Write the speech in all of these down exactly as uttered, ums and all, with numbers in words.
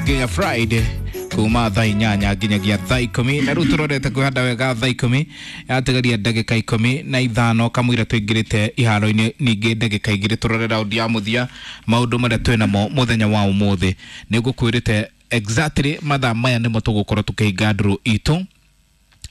nginya Friday kuma thaa inyanya nginyagia thaa ikumi na riu turorete kwihanda wega thaa ikumi yatigaria ndagika ikumi na ithano kamwira tuingirite iharo-ini ningi ndagika igiri turore raundi ya muthia maundu maria twinamo muthenya wa umuthi ni ngukwirite exactly mathaa maya nimo tugukorwo tukihinga nduru itu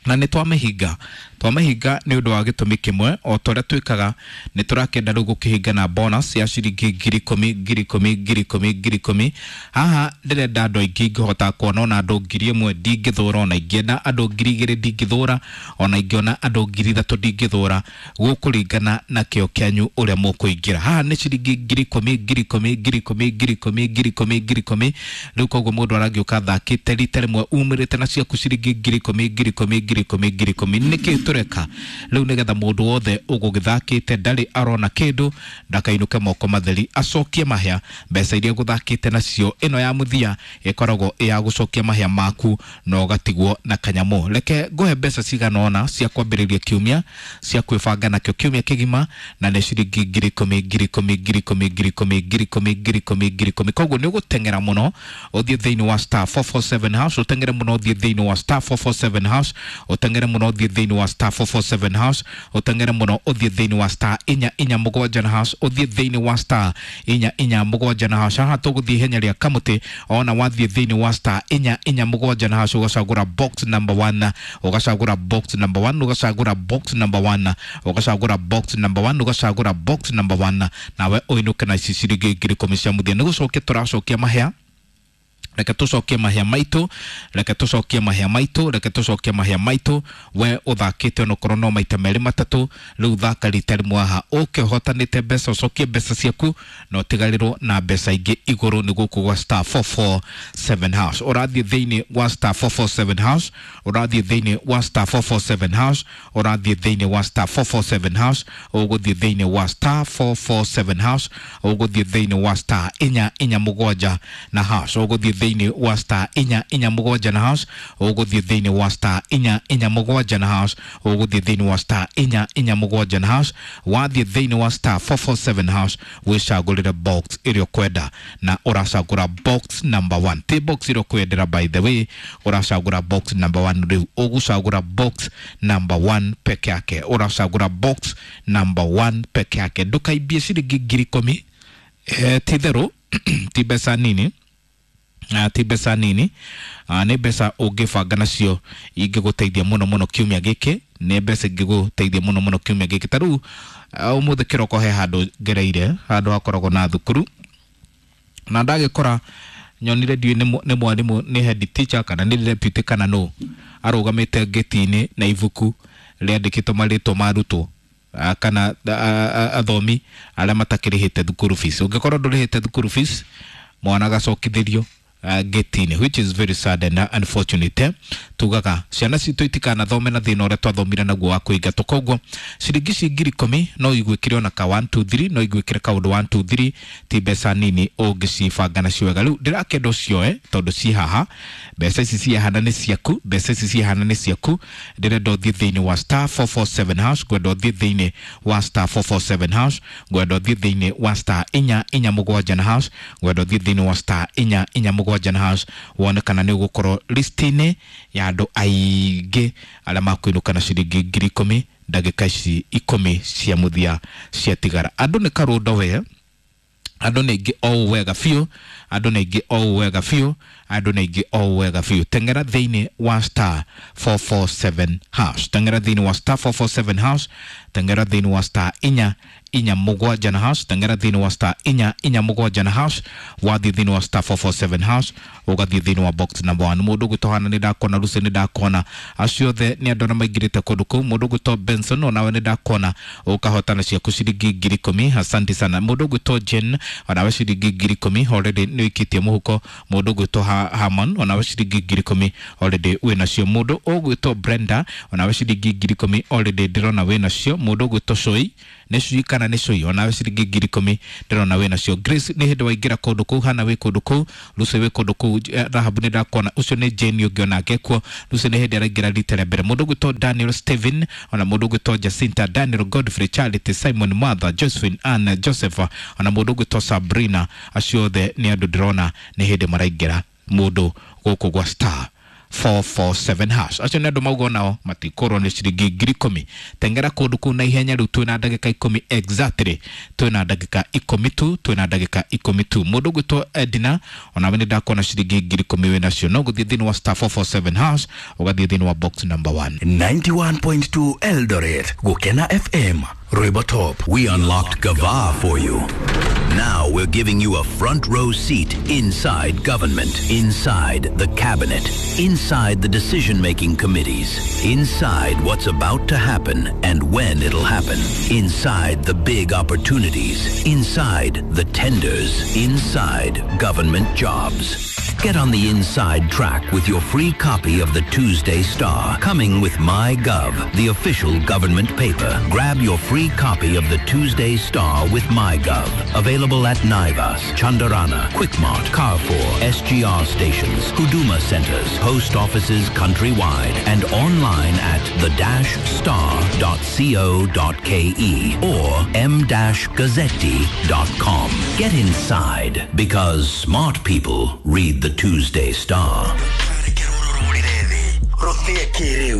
na nä twamĩhinga twamĩhinga nĩ ũndũ wa gĩtũmi kĩmwe o ta ũrĩa twĩkaga nĩ tũrakĩenda rĩu gũkĩhinga na bonus ya ciringi ngiri ikũmi ngiri ikũmi ngiri ikũmi ngiri ikũmi. Haha ndĩrenda andũ aingĩ ingĩhota kuona ona andũ ngiri ĩmwe ndingĩthũra, ona ingĩenda andũ ngiri igĩrĩ ndingĩthũra, ona ingĩona andũ ngiri ithatũ ndingĩthũra, gũkũringana na kĩo kĩanyu ũrĩa mũkũingĩra. Haha nĩ ciringi ngiri ikũmi ngiri ikũmi ngiri ikũmi ngiri ikũmi ngiri ikũmi ngiri ikũmi. Rĩu koguo mũndũ aragĩũka athakĩte rita rĩmwe umĩrĩte na ciaku ciringi ngiri ikũmi ngiri ikũmi ngiri ikũmi ngiri ikũmi. Nĩkĩ tũreka rĩu? Nĩgetha mũndũ wothe ũgũgĩthakĩte ndarĩ arona kĩndũ ndakainũke moko matheri, acokie mahĩa mbeca iria gũthakĩte nacio. Ĩno ya mũthia ĩkoragwo ĩ ya gũcokia mahĩa maku na ũgatigwo na kanyamũ. Reke ngũhe mbeca cigana ũna cia kwambĩrĩria kiumia cia kwĩbanga nakĩo kiumia kĩgima, na nĩ ciringi ngiri ikũmi ngiri ikũmi ngiri ikũmi ngiri ikũmi ngiri ikũmi ngiri ikũmi ngiri ikũmi. Koguo nĩ ũgũteng'era mũno ũthiĩ thĩinĩ wa star four four seven hash, ũteng'ere mũno ũthiĩ thĩinĩ wa star four four seven hash, ũteng'ere mũno ũthiĩ thĩinĩ wa star four four seven hash, ũteng'ere mũno ũthiĩ thĩinĩ wa star inya inya mũgwanja na hash, ũthiĩ thĩinĩ wa star inya inya mũgwanja na hash. Haha tũgũthiĩ ihenya rĩa kamũtĩ, ona wathiĩ thĩinĩ wa star inya inya mũgwanja na hash ũgacagũra box number one, ũgacagũra box number one, ũgacagũra box number one, ũgacagũra box number one, ũgacagũra box number one, nawe ũinũke na ici ciringi ngiri ikũmi cia mũthia. Nĩ gũcokia tũracokia mahĩa, reke tũcokie mahĩa maitũ, reke tũcokie mahĩa maitũ, reke tũcokie mahĩa maitũ. We ũthakĩte onokorwo no maita merĩ matatũ, rĩu thaka rita rĩmwe haha ũke ũhotanĩte mbeca, ũcokie mbeca ciaku na ũtigarĩrwo na mbeca ingĩ igũrũ. Nĩ gũkũ gwa star four four seven hash, ũrathiĩ thĩinĩ wa star four four seven hash, ũrathiĩ thĩinĩ wa star four four seven hash, ũrathiĩ thĩinĩ wa star four four seven hash, ũgũthiĩ thĩinĩ wa star four four seven hash, ũgũthiĩ thĩinĩ wa star inya inya mũgwanja na hash, ũgũthiĩ thĩinĩ wa star inya inya mũgwanja na hash, ũgũthiĩ thĩinĩ wa star inya inya mũgwanja na hash, ũgũthiĩ thĩinĩ wa star inya inya mũgwanja na hash. Wathiĩ thĩinĩ wa star four four seven hash wĩcagũrĩre box ĩrĩa ũkwenda, na ũracagũra box number one, ti box ĩrĩa ũkwendera by the way, ũracagũra box number one. Rĩu ũgũcagũra box number one peke yake, ũracagũra box number one peke yake. Ndũkaimbie ciringi ngiri ikũmi, eh, ti therũ ti mbeca nini, Uh, ti mbeca nini, uh, nĩ mbeca ũngĩbanga nacio ingĩgũteithia mũno mũno kiumia gĩkĩ, nĩ mbeca ingĩgũteithia mũno mũno kiumia gĩkĩ. Ta rĩu uh, ũmũthĩ kĩroko he handũ ngereire, handũ hakoragwo na thukuru, na ndagĩkora nyonire ndiũĩ nĩ mwarimũ, nĩ head teacher kana nĩ deputy kana nũ, arũgamĩte ngĩti-inĩ na ibuku rĩandĩkĩtwo marĩtwa ma arutwo kana athomi arĩa matakĩrĩhĩte thukuru fees. Ũngĩkorwo ndũrĩhĩte thukuru fees, mwana agacokithĩrio Uh, getini, which is very sad and unfortunate. Tugaga ciana citũ itikanathome na thĩna ũrĩa twathomire naguo wa kũingatwo. Koguo ciringi ici ngiri ikũmi no igwĩkĩre ona ka one two three, no igwĩkĩre kaũndũ one two three, ti mbeca nini ũngĩcibanga nacio wega. Rĩu ndĩrakĩenda ũcioe tondũ ci haha, mbeca ici ci haha na nĩ ciaku, mbeca ici ci haha na nĩ ciaku. Ndĩrenda ũthiĩ thĩinĩ wa star four four seven hash, ngwenda ũthiĩ thĩinĩ wa star four four seven hash, ngwenda ũthiĩ thĩinĩ wa star inya inya mũgwanja na hash, ngwenda ũthiĩ thĩinĩ wa star inya inya mũgwanja na hash, wone kana nĩ ũgũkorwo list-inĩ ya andũ aingĩ arĩa makwĩnũka na ciringi ngiri ikũmi ndagĩka ici ikũmi cia mũthia ciatigara. Andũ nĩ karũndo we, andũ nĩ aingĩ o ũũ wega biũ, andũ nĩ aingĩ o ũũ wega biũ, andũ nĩ aingĩ o ũũ wega biũ. Teng'era thĩinĩ wa star four four seven hash, teng'era thĩinĩ wa star four four seven hash, teng'era thĩinĩ wa star inya inya mũgwanja na hash, teng'era thĩinĩ wa star inya inya mũgwanja na hash. Wathiĩ thĩinĩ wa star four four seven hash, ũgathiĩ thĩinĩ wa box number one. Mũndũ ũgwĩtwo Hana nĩ ndakona, Lucy nĩ ndakona, acio othe nĩ andũ arĩa maingĩrĩte kũndũ kũu. Mũndũ ũgwĩtwo Benson onawe nĩ ndakona ũkahotana ciaku ciringi ngiri ikũmi, asante sana. Mũndũ ũgwĩtwo Jane onawe ciringi ngiri ikũmi already nĩ ũikĩtie mũhuko. Mũndũ ũgwĩtwo Harmon onawe ciringi ngiri ikũmi already wĩnacio. Mũndũ ũgwĩtwo Brenda onawe ciringi ngiri ikũmi already ndĩrona wĩnacio. Mũndũ ũgwĩtwo Shoi, nĩ Shoi kana nĩ Shoi, onawe ciringi ngiri ikũmi ndĩrona wĩnacio. Grace nĩ hĩndĩ waingĩra kũndũ kũu, Hana wĩ kũndũ kũu, Lucy wĩ kũndũ kũu, Rahab nĩ ndakona, ũcio nĩ Jane ũngĩ onake kuo. Lucy nĩ hĩndĩ araingĩra rita rĩa mbere. Mũndũ ũgwĩtwo Daniel Steven, ona mũndũ ũgwĩtwo Jacinta, Daniel Godfrey, Charity, Simon, Martha, Josephine, Ann, Joseph, ona mũndũ ũgwĩtwo Sabrina, acio othe nĩ andũ ndĩrona nĩ hĩndĩ maraingĩra. Mũndũ gũkũ gwa star four four seven hash. Acio nĩ andũ mauga nao matikorwo nĩ ciringi ngiri ikũmi. Tengera kũndũ kũu na ihenya rĩu, twĩna ndagĩka ikũmi exactly, twĩna ndagĩka ikũmi tu, twĩna ndagĩka ikũmi tu. Mũndũ ũgwĩtwo Edina, onawe nĩ ndakuona ciringi ngiri ikũmi wĩ nacio, no gũthiĩ thĩinĩ wa star four four seven hash, ũgathiĩ thĩinĩ wa box number one. ninety-one point two Eldoret, Gukena F M, Rwimbo Top. We unlocked Gava for you. Now we're giving you a front row seat inside government, inside the cabinet, inside the decision making committees, inside what's about to happen and when it'll happen, inside the big opportunities, inside the tenders, inside government jobs. Get on the inside track with your free copy of the Tuesday Star, coming with MyGov, the official government paper. Grab your free copy of the Tuesday Star with MyGov. Available at Naivas, Chandarana, Quickmart, Carrefour, S G R stations, Huduma centers, post offices countrywide, and online at the dash star dot co dot k e or m dash gazzetti dot com. Get inside, because smart people read the Tuesday Star. Rũthia kĩrĩu.